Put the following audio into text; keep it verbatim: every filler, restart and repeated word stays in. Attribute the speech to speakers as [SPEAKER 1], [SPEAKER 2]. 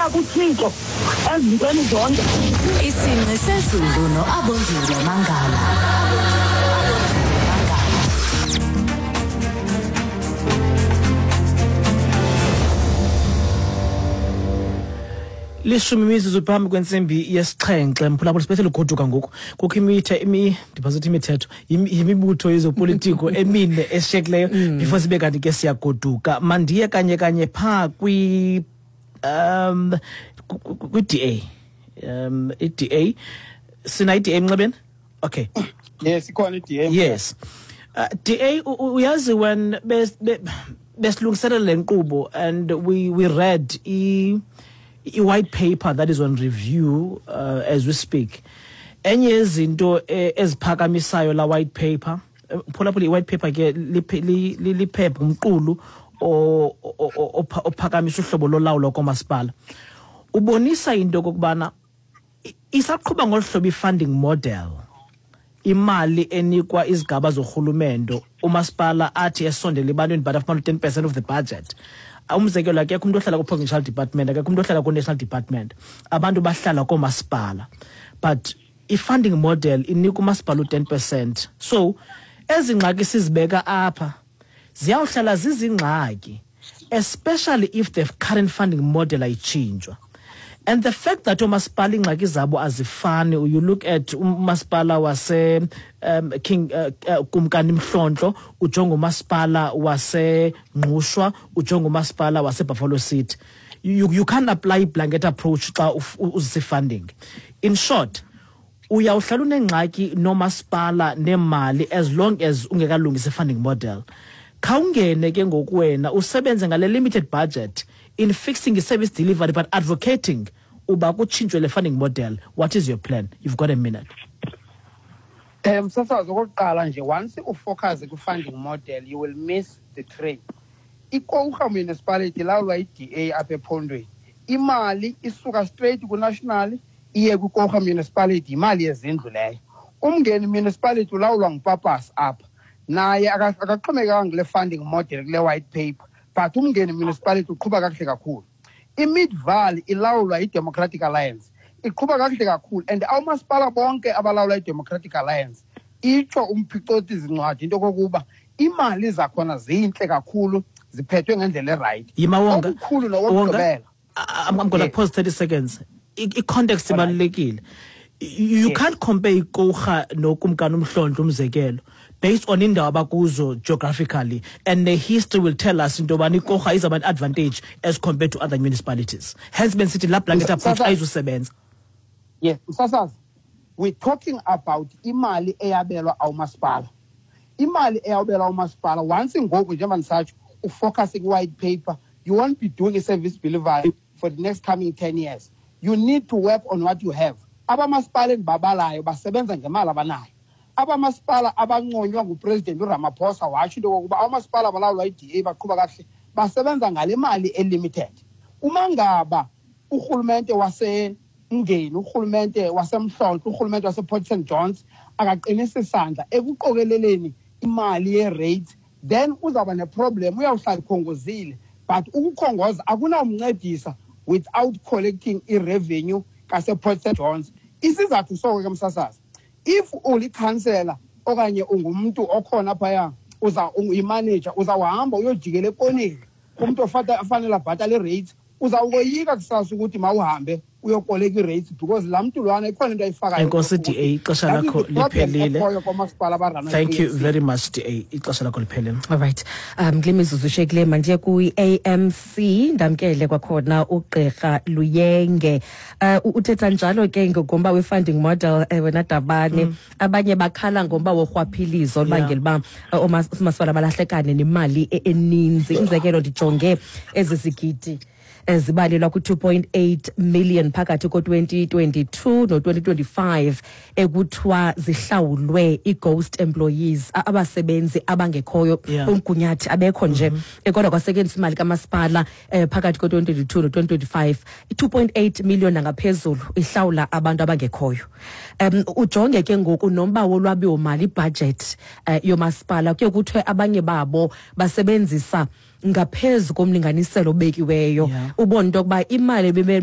[SPEAKER 1] Sithembela kuThixo ezintweni zonke.
[SPEAKER 2] Isingqi sezulu noAbongile Mangala.
[SPEAKER 3] Lishumi imizuzu phambi kwentsimbi yesixhenxe, mphulaphula, sibethele ugoduka ngoku. Kukho imithe imi ndiphazithi imithetho yimibutho yezopolitiko emine eshiyekileyo before sibe kanti ke siyagoduka. Mandiye kanye kanye phaa kwi um kwi-D A. Um i-D A sina i-D A emnxebeni? Okay.
[SPEAKER 4] Yes, ikhona i-D A.
[SPEAKER 3] Yes. Uh, D A, uyazi when besilungiselela le nkqubo and we we read i a white paper that is on review uh, as we speak. Enye yezinto eziphakamisayo la white paper, phulaphula i-white paper ke liphepha umqulu ophakamisa uhlobo lolawulo komasipala. Ubonisa into okokubana isaqhuba ngolu hlobo i-funding model, imali enikwa izigaba zorhulumento, umasipala athi esondele ebantwini but afumana ten percent of the budget. Umzekelo, akekho umuntu ohlala ku-provincial department, akekho umuntu ohlala ku-national department, abantu bahlala koomasipala, but i-funding model inika umasipala u-ten percent. So ezi ngxaki sizibeka apha ziyawuhlala zizingxaki, especially if the current funding model ayitshintshwa. And the fact that oomasipala iingxaki zabo azifani, you look at umasipala wase um, King uh, uh, Kumkani Mhlontlo, ujonge umasipala waseNgqushwa, ujonge umasipala waseBuffalo City. You, you can't apply blanket approach xa uzise funding. In short, uyawuhlala unengxaki nomasipala nemali as long as ungekalungisi funding model. Khawungene ke ngoku wena usebenze ngale limited budget in fixing the service delivery but advocating uba kutshintshwe le funding model. What is your plan? You've got a minute.
[SPEAKER 4] Um msasazi, okokuqala nje, once ufocus ku-funding model you will miss the train. IKouga municipality ilawulwa yi-D A apha ephondweni. Imali isuka straight ku-national iye kwiKouga municipality, yimali yezindlu leyo. Umngeni municipality ulawulwa nguPapas apha, naye akaxhomekekanga kule funding model kule white paper, but Umngeni municipality uqhuba kakuhle kakhulu. I-Midvaal ilawulwa yi-Democratic Alliance, iqhuba kakuhle kakhulu, and awumasipala bonke abalawulwa yi-Democratic Alliance itsho umphicothi zincwadi into kokuba imali zakhona zintle kakhulu, ziphethwe ngendlela eright.
[SPEAKER 3] Yimawonga
[SPEAKER 4] okukhulu nokugqibela.
[SPEAKER 3] I'm, I'm gonna
[SPEAKER 4] yes.
[SPEAKER 3] pause thirty seconds. I-context ibalulekile. You
[SPEAKER 4] yes.
[SPEAKER 3] can't compare iKouga noKumkani Umhlontlo umzekelo based on indawo abakuzo geographically, and the history will tell us into yoba iKouga is an advantage as compared to other municipalities. Hence bensithi la blanket approach ayizusebenza.
[SPEAKER 4] Yes, msasazi, we're talking about imali eyabelwa awumasipala. Imali eyabelwa awumasipala once ngoku njengoba ndisatsho ufocus ku-white paper, you won't be doing a service delivery for the next coming ten years. You need to work on what you have. Abamasipala endibabalayo basebenza ngemali abanayo. Abamasipala abanconywa nguPresident uRamaphosa watsho into yokokuba abamasipala abalawulwa yi-D A baqhuba kakuhle, basebenza ngale mali elimited. Uma ngaba urhulumente waseMngeni, urhulumente waseMhlontlo, urhulumente wasePort Saint Johns akaqinisa isandla ekuqokeleleni imali ye-rates, then uzawuba neproblem, uyawuhlala ukhongozile. But ukukhongoza akunawumncedisa without collecting i-revenue kasePort Saint Johns. Isizathu soko ke msasazi, if ulikhansela okanye ungumntu okhona phaya, uza uyimanager, uzawuhamba uyojikela ekoneni kumntu ofanele abhatale i-rates, uzawukoyika kusasa ukuthi mawuhambe uyokoleka i-rates because laa mntu lwana ikhona into ayifakayo.
[SPEAKER 3] Enkosi D A, ixesha lakho liphelile. Thank you
[SPEAKER 4] Thank
[SPEAKER 3] very much D A, ixesha lakho liphelile.
[SPEAKER 5] All right. Um kule mizuzu ishiyekileyo mandiye kwi-A M C, ndamkele kwakhona uGqirha Luyenge. Uh, uthetha njalo ke ngomba we-funding model, eh, wena Dabane.
[SPEAKER 3] Mm.
[SPEAKER 5] Abanye bakhala ngomba worhwaphilizo olubangela uba oomasipala balahlekane nemali eninzi. Umzekelo, ndijonge ezi zigidi ezibalelwa ku-two point eight million phakathi ko-twenty twenty-two no-twenty twenty-five ekuthiwa zihlawulwe i-ghost employees, abasebenzi abangekhoyo,
[SPEAKER 3] Yeah.
[SPEAKER 5] umgunyathi abekho nje.
[SPEAKER 3] Mm -hmm.
[SPEAKER 5] Kodwa kwasetyenziswa imali kamasipala eh, phakathi ko-twenty twenty-two no-twenty twenty-five, i-two point eight million nangaphezulu ihlawula abantu abangekhoyo. Um ujonge ke ngoku nomba wolwabiwomali, ibudget eh, yomasipala, kuye kuthiwe abanye babo basebenzisa ngaphezu komlinganiselo obekiweyo.
[SPEAKER 3] Yeah.
[SPEAKER 5] Ubone into yokuba imali ebimele